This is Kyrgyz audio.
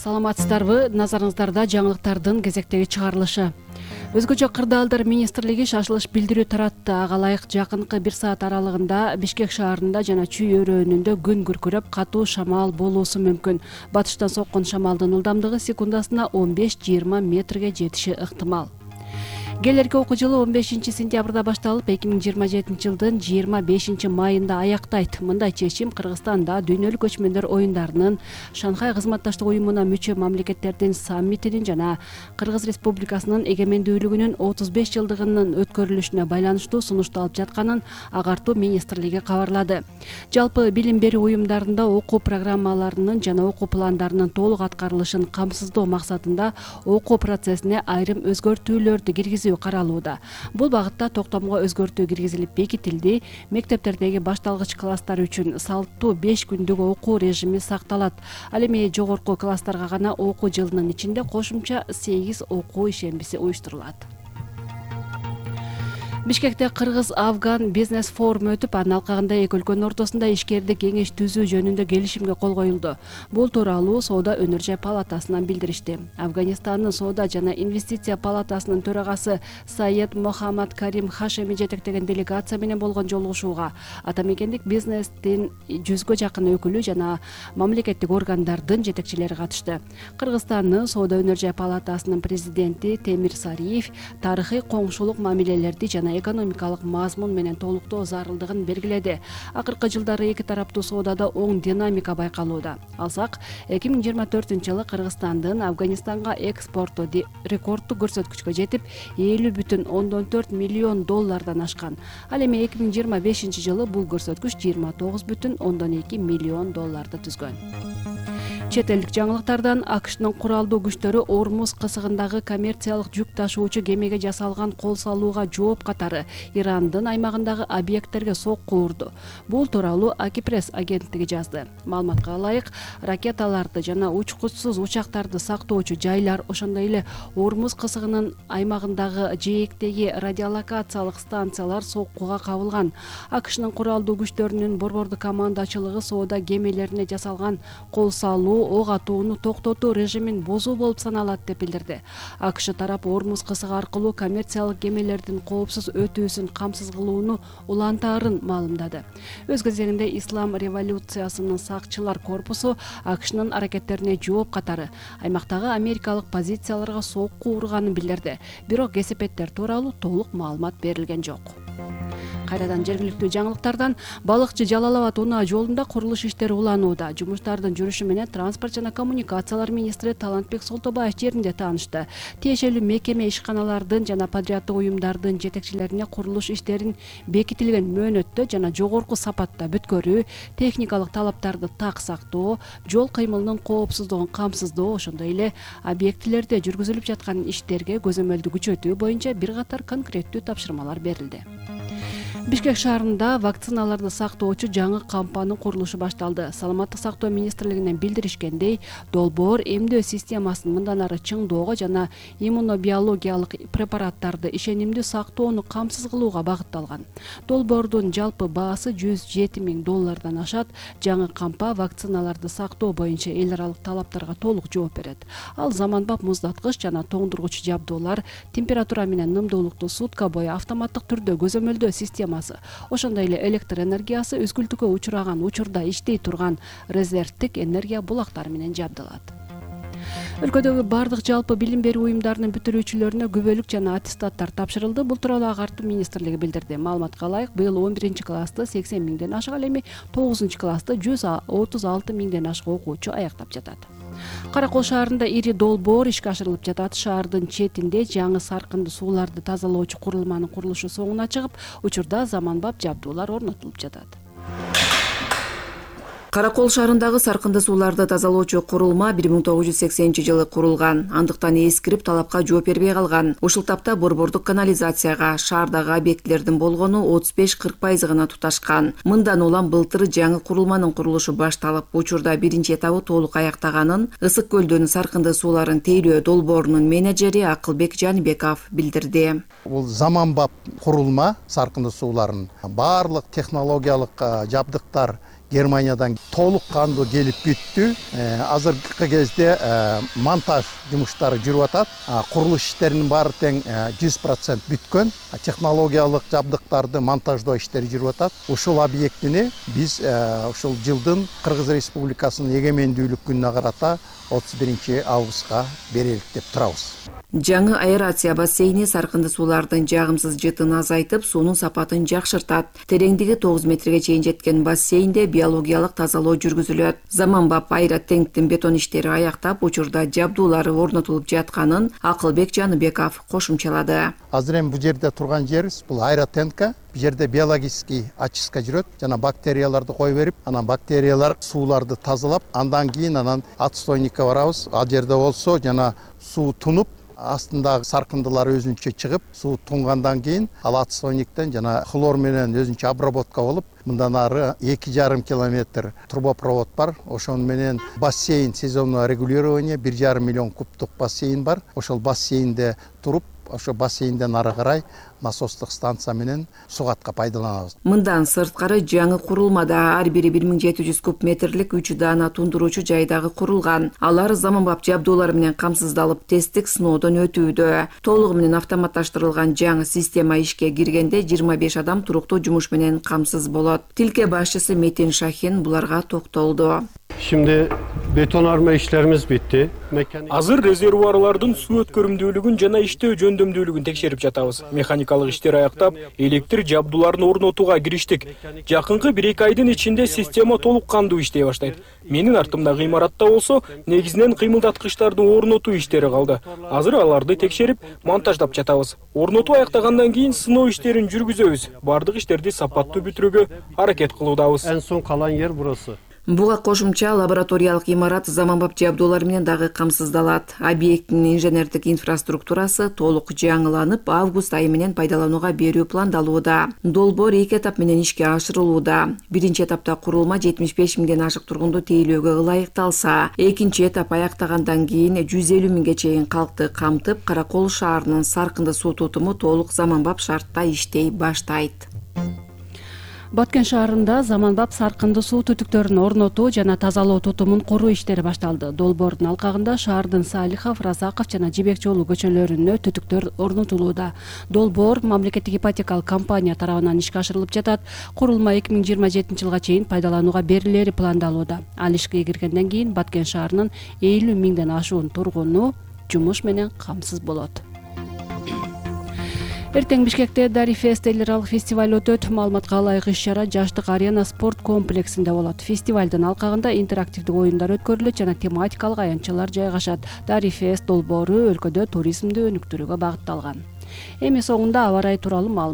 Саламатсыздарбы? Назарыңыздарда жаңылыктардын кезектеги чыгарылышы. Өзгөчө кырдаалдар министрлиги шашылыш билдирүү таратты. Ага ылайык жакынкы 1 саат аралыгында Бишкек шаарында жана Чүй өрөөнүндө күн күркүрөп, катуу шамал болуусу мүмкүн. Батыштан соккон шамалдын ылдамдыгы секундасына 15-20 метрге жетиши ыктымал. Келерки окуу жылы 15-сентябрда башталып, 2027-жылдын 25-майында аяктайт. Мындай чечим Кыргызстанда дүйнөлүк көчмөндөр оюндарынын, Шанхай кызматташтык уюмуна мүчө мамлекеттердин саммитинин жана Кыргыз Республикасынын эгемендүүлүгүнүн 35 жылдыгынын өткөрүлүшүнө байланыштуу сунушталып жатканын Агартуу министрлиги кабарлады. Жалпы билим берүү уюмдарында окуу программаларынын жана окуу пландарынын толук аткарылышын камсыздоо максатында окуу процессине айрым өзгөртүүлөрдү киргизүү каралууда. Бул багытта токтомго өзгөртүү киргизилип бекитилди. Мектептердеги башталгыч класстар үчүн салттуу 5 күндүк окуу режими сакталат. Ал эми жогорку класстарга гана окуу жылынын ичинде кошумча 8 окуу ишембиси уюштурулат. Бишкекте Кыргыз-Афган бизнес форуму өтүп, анын алкагында эки өлкөнүн ортосунда ишкердик кеңеш түзүү жөнүндө келишимге кол коюлду. Бул тууралуу Соода өнөр жай палатасынан билдиришти. Афганистандын Соода жана инвестиция палатасынын төрагасы Саед Мохаммад Карим Хашеми жетектеген делегация менен болгон жолугушууга ата мекендик бизнестин 100гө жакын өкүлү жана мамлекеттик органдардын жетекчилери катышты. Кыргызстандын Соода өнөр жай палатасынын президенти Темир Сариев тарыхый коңшулук мамилелерди жана экономикалык мазмун менен толуктоо зарылдыгын белгиледи. Акыркы жылдары эки тараптуу соодада оң динамика байкалууда. Алсак, 2024-жылы Кыргызстандын Афганистанга экспорту рекорддук көрсөткүчкө жетип, 50,4 миллион доллардан ашкан. Ал эми 2025-жылы бул көрсөткүч 29,2 миллион долларды түзгөн. Чет элдик жаңылыктардан АКШнын куралдуу күчтөрү Ормуз кысыгындагы коммерциялык жүк ташуучу кемеге жасалган кол салууга жооп катары Ирандын аймагындагы объекттерге сокку урду. Бул тууралуу Акипресс агенттиги жазды. Маалыматка ылайык, ракеталарды жана учкучсуз учактарды сактоочу жайлар, ошондой эле Ормуз кысыгынын аймагындагы жээктеги радиолокациялык станциялар соккуга кабылган. АКШнын куралдуу күчтөрүнүн борбордук командачылыгы соода кемелерине жасалган кол салуу, ок атууну токтотуу режимин бузуу болуп саналат деп билдирди. АКШ тарап Ормуз кысыгы аркылуу коммерциялык кемелердин коопсуз өтүүсүн камсыз кылууну улантаарын маалымдады. Өз кезегинде Ислам революциясынын сакчылар корпусу АКШнын аракеттерине жооп катары аймактагы америкалык позицияларга сокку урганын билдирди. Бирок кесепеттер тууралуу толук маалымат берилген жок. Кайрадан жергиликтүү жаңылыктардан балыкчы Жалал Абад унаа жолунда курулуш иштери уланууда. Жумуштардын жүрүшү менен транспорт жана коммуникациялар министри Талантбек Солтобаев жеринде таанышты. Тиешелүү мекеме ишканалардын жана подряддык уюмдардын жетекчилерине курулуш иштерин бекитилген мөөнөттө жана жогорку сапатта бүткөрүү, техникалык талаптарды так сактоо, жол кыймылынын коопсуздугун камсыздоо, ошондой эле объектилерде жүргүзүлүп жаткан иштерге көзөмөлдү күчөтүү боюнча бир катар конкреттүү тапшырмалар берилди. Бишкек шаарында вакциналарды сактоочу жаңы кампанын курулушу башталды. Саламаттык сактоо министрлигинен билдиришкендей, долбоор эмдөө системасын мындан ары чыңдоого жана иммунобиологиялык препараттарды ишенимдүү сактоону камсыз кылууга багытталган. Долбоордун жалпы баасы $107,000 ашат. Жаңы кампа вакциналарды сактоо боюнча эл аралык талаптарга толук жооп берет. Ал заманбап муздаткыч жана тоңдургуч жабдуулар, температура менен нымдуулукту сутка бою автоматтык түрдө көзөмөлдөө системасы, ошондой эле электр энергиясы үзгүлтүккө учураган учурда иштей турган резервдик энергия булактары менен жабдылат. Өлкөдөгү бардык жалпы билим берүү уюмдарынын бүтүрүүчүлөрүнө күбөлүк жана аттестаттар тапшырылды. Бул тууралуу Агартуу министрлиги билдирди. Маалыматка ылайык, быйыл 11-классты 80 миңден ашык, ал эми 9-классты 136 миңден ашык окуучу аяктап жатат. Каракол шаарында ири долбоор ишке ашырылып жатат. Шаардын четинде жаңы саркынды сууларды тазалоочу курулманын курулушу соңуна чыгып, учурда заманбап жабдуулар орнотулуп жатат. Каракол шаарындагы саркынды сууларды тазалоочу курулма 1980-жылы курулган. Андыктан эскирип талапка жооп бербей калган. Ушул тапта борбордук канализацияга шаардагы объектилердин болгону 35-40% гана туташкан. Мындан улам былтыр жаңы курулманын курулушу башталып, учурда биринчи этабы толук аяктаганын Ысык көлдүн саркынды сууларын тейлөө долбоорунун менеджери Акылбек Жанбеков билдирди. Бул заманбап курулма саркынды сууларын баардык технологиялык жабдыктар Германиядан толук кандуу келип бүттү. Азыркы кезде монтаж жумуштары жүрүп атат. Курулуш иштеринин баары тең 100% бүткөн. Технологиялык жабдыктарды монтаждоо иштери жүрүп атат. Ушул объектини биз ушул жылдын Кыргыз Республикасынын эгемендүүлүк күнүнө карата 31 августка берелик деп турабыз. Жаңы аэрация бассейни саркынды суулардын жагымсыз жытын азайтып, суунун сапатын жакшыртат. Тереңдиги 9 метрге чейин жеткен бассейнде биологиялык тазалоо жүргүзүлөт. Заманбап аэротенктин бетон иштери аяктап, учурда жабдуулары орнотулуп жатканын Акылбек Жаныбеков кошумчалады. Азыр эми бул жерде турган жерибиз бул аэротенкка. Бул жерде биологический очистка жүрөт. Жана бактерияларды кое берип, анан бактериялар сууларды тазалап, андан кийин отстойникке барабыз. Ал жерде болсо жана суу тунуп, астындагы саркындылар өзүнчө чыгып, суу тунгандан кийин ал отстойниктен жана хлор менен өзүнчө обработка болуп, мындан ары 2,5 километр трубопровод бар. Ошон менен бассейн, сезонное регулирование, 1,5 миллион кубтук бассейн бар. Ошол бассейнде туруп, ошо бассейнден ары карай насостук станция менен сугатка пайдаланабыз. Мындан сырткары жаңы курулмада ар бири 1700 куб метрлик 3 даана тундуруучу жайдагы курулган. Алар заманбап жабдуулар менен камсыздалып, тесттик сыноодон өтүүдө. Толугу менен автоматташтырылган жаңы система ишке киргенде 25 адам туруктуу жумуш менен камсыз болот. Тилке башчысы Метин Шахин буларга токтолду. Şimdi betonarme işlerimiz bitti. Азыр резервуарлардын суу өткөрүмдүүлүгүн жана иштөө жөндөмдүүлүгүн текшерип жатабыз. Механикалык иштер аяктап, электр жабдууларын орнотууга кириштик. Жакынкы 1-2 айдын ичинде система толук кандуу иштей баштайт. Менин артымдагы имаратта болсо, негизинен кыймылдаткычтардын орнотуу иштери калды. Азыр аларды текшерип, монтаждап жатабыз. Орнотуу аяктагандан кийин сыноо иштерин жүргүзөбүз. Бардык иштерди сапаттуу бүтүрүүгө аракет кылуудабыз. En son kalan yer burası. Буга кошумча лабораториялык имарат заманбап жабдуулар менен дагы камсыздалат. Объекттин инженердик инфраструктурасы толук жаңыланып, август айы менен пайдаланууга берүү пландалууда. Долбоор 2 этап менен ишке ашырылууда. Биринчи этапта курулма 75 миңден ашык тургунду тейлөөгө ылайыкталса, экинчи этап аяктагандан кийин 150 миңге чейин калкты камтып, Каракол шаарынын саркынды суу тутуму толук заманбап шартта иштей баштайт. Баткен шаарында заманбап саркынды суу түтүктөрүн орнотуу жана тазалоо тутумун куруу иштери башталды. Долбоордун алкагында шаардын Салихов, Разаков жана Жибек жолу көчөлөрүнө түтүктөр орнотулууда. Долбоор мамлекеттик ипотекалык компания тарабынан ишке ашырылып жатат. Курулма 2027 жылга чейин пайдаланууга берилери пландалууда. Ал ишке киргенден кийин Баткен шаарынын 50 миңден ашуун тургуну жумуш менен камсыз болот. Эртең Бишкекте Дарифест эл аралык фестиваль өтөт. Маалыматка ылайык иш-чара Жаштык арена спорт комплексинде болот. Фестивалдын алкагында интерактивдик оюндар өткөрүлөт жана тематикалык аянтчалар жайгашат. Дарифест долбоору өлкөдө туризмди өнүктүрүүгө багытталган. Эми соңунда аба ырайы тууралуу маалымат